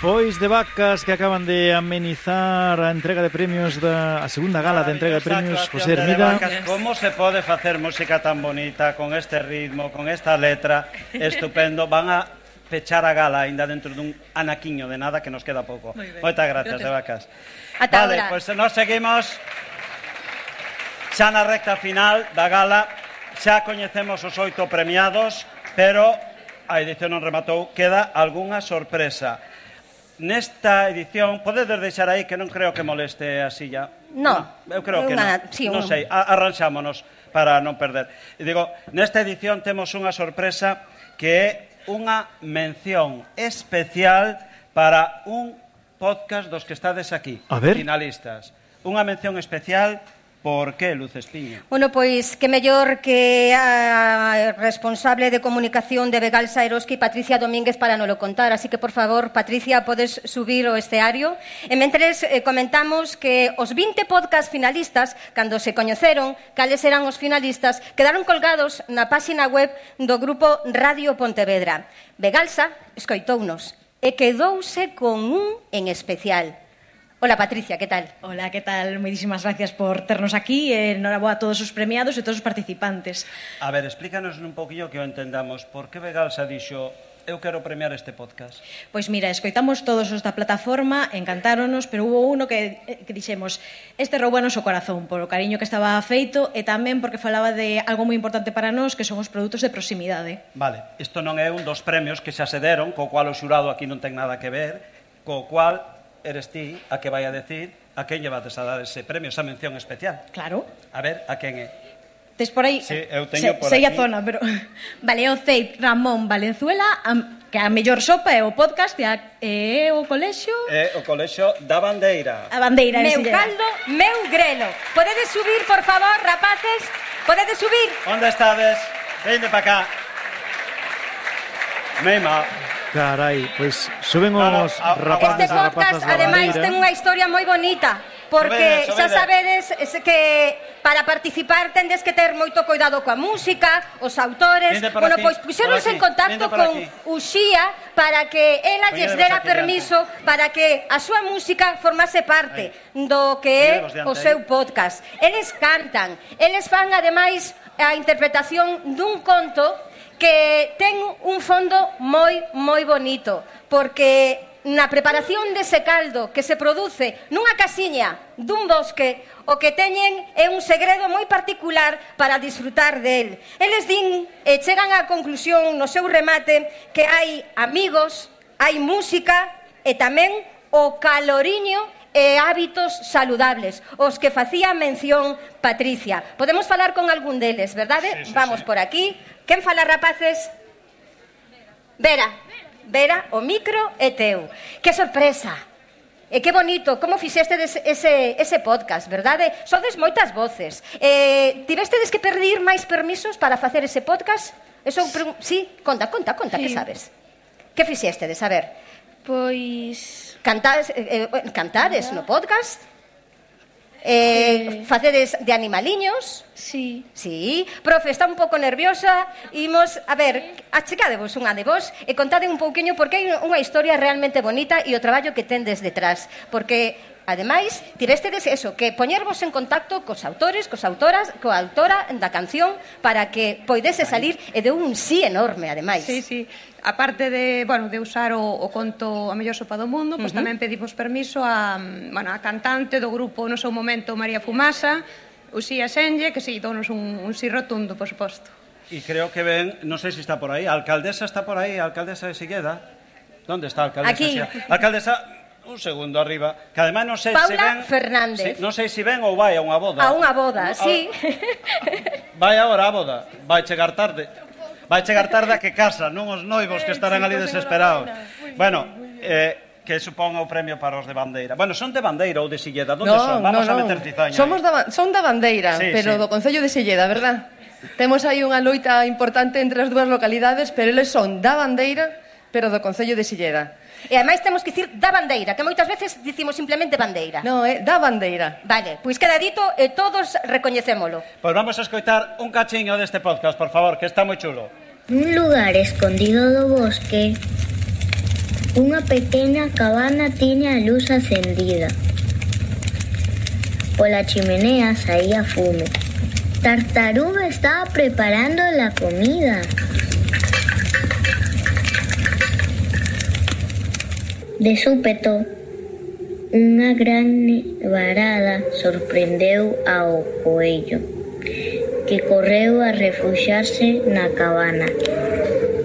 Pois de vacas que acaban de amenizar a entrega de premios a segunda gala de entrega de premios, José Hermida. Como se pode facer música tan bonita, con este ritmo, con esta letra, estupendo. Van a pechar a gala ainda dentro dun anaquiño de nada que nos queda pouco. Moitas gracias, de vacas. Vale, pois nos seguimos xa na recta final da gala. Xa coñecemos os 8 premiados, pero a edición non rematou, queda algunha sorpresa. Nesta edición, podedes deixar aí que non creo que moleste a silla? Non. Eu creo que non. Non sei, arranxámonos para non perder. E digo, nesta edición temos unha sorpresa que é unha mención especial para un podcast dos que estades aquí, finalistas. Unha mención especial. Por que, Luz Espiño? Bueno, pois que mellor que a responsable de comunicación de Vegalsa Eroski, Patricia Domínguez, para nolo contar. Así que, por favor, Patricia, podes subir o esteario. E mentres comentamos que os 20 podcast finalistas, cando se coñeceron cales eran os finalistas, quedaron colgados na páxina web do grupo Radio Pontevedra. Vegalsa escoitounos e quedouse con un en especial. Hola, Patricia, ¿qué tal? Hola, ¿qué tal? Moitísimas gracias por ternos aquí. Enhoraboa a todos os premiados e todos os participantes. A ver, explícanos un poquillo que o entendamos. Por que Vegalsa dixo, eu quero premiar este podcast? Pois mira, escoitamos todos os da plataforma, encantáronos, pero hubo uno que dixemos, este roubános o corazón, por o cariño que estaba feito e tamén porque falaba de algo moi importante para nós, que son os produtos de proximidade. Vale, isto non é un dos premios que xa se deron, co cual o xurado aquí non ten nada que ver, co cual eres ti a que vai a decir a quen lle vas a dar ese premio, esa mención especial. Claro. A ver, a quen é? Tes por aí? Sí, eu teño por aquí. Sei a zona, pero... Vale, o CEIP Ramón Valenzuela, que a mellor sopa é o podcast e o colexio... É o colexio da Bandeira. A Bandeira. Meu caldo, meu grelo. Podedes subir, por favor, rapaces? Podedes subir? Onde estades? Vende pa cá. Meima. Carai, pois suben os rapaces. Este podcast, ademais, ten unha historia moi bonita, porque xa sabedes que para participar tendes que ter moito cuidado coa música, os autores. Bueno, pois puxeronse en contacto con Uxía para que ela lles dera permiso para que a súa música formase parte do que é o seu podcast. Eles cantan, eles fan ademais a interpretación dun conto que ten un fondo moi bonito, porque na preparación dese caldo que se produce nunha casiña dun bosque, o que teñen é un segredo moi particular para disfrutar del. Eles din e chegan á conclusión no seu remate que hai amigos, hai música e tamén o caloriño e hábitos saludables, os que facía mención Patricia. Podemos falar con algún deles, verdade? Sí, Vamos por aquí. Quen fala, rapaces? Vera, o micro é teu. Que sorpresa. E que bonito, como fixestedes ese podcast, verdade? Sodes moitas voces. Tivestedes que pedir máis permisos para facer ese podcast? Sí, conta, que sabes? Que fixestedes, a ver? Pois... Cantades no podcast? Facedes de animaliños? Sí. Sí. Profe, está un pouco nerviosa. Imos, a ver, achecadevos unha de vos e contade un pouquiño porque hai unha historia realmente bonita e o traballo que tendes detrás. Porque, ademais, tivestedes eso, que poñervos en contacto cos autores, coa autora da canción para que poidese salir e de un sí enorme, ademais. Sí. Aparte de usar o conto A mellor sopa do mundo, pois tamén pedimos permiso a cantante do grupo no seu momento María Fumasa, Uxía Senlle, que si dounos un sí rotundo, por suposto. E creo que ven, non sei se está por aí, a alcaldesa está por aí, a alcaldesa de Silleda. Onde está a alcaldesa? Aquí. Alcaldesa, un segundo arriba, que ademais non sei se ven... Paula Fernández. Non sei se ven ou vai a unha boda. A unha boda, sí. Vai agora a boda, vai chegar tarde. Vai chegar tarde a que casa, non os noivos que estarán ali desesperados. Bueno, que supón o premio para os de Bandeira. Bueno, son de Bandeira ou de Silleda? Onde son? Vamos a meter cizaña. Son da Bandeira, pero do Concello de Silleda, verdad? Temos aí unha loita importante entre as dúas localidades, pero eles son da Bandeira, pero do Concello de Silleda. E ademais temos que dicir da Bandeira, que moitas veces dicimos simplemente Bandeira. Non, é da Bandeira. Vale, pois queda dito e todos recoñecémolo. Pois vamos a escoitar un cachiño deste podcast, por favor, que está moi chulo. Nun lugar escondido do bosque, Unha pequena cabana tiña a luz acendida. Pola chimenea saía fume. Tartaruga estaba preparando la comida. De súpeto, unha gran nevarada sorprendeu ao coello, que correu a refuxiarse na cabana.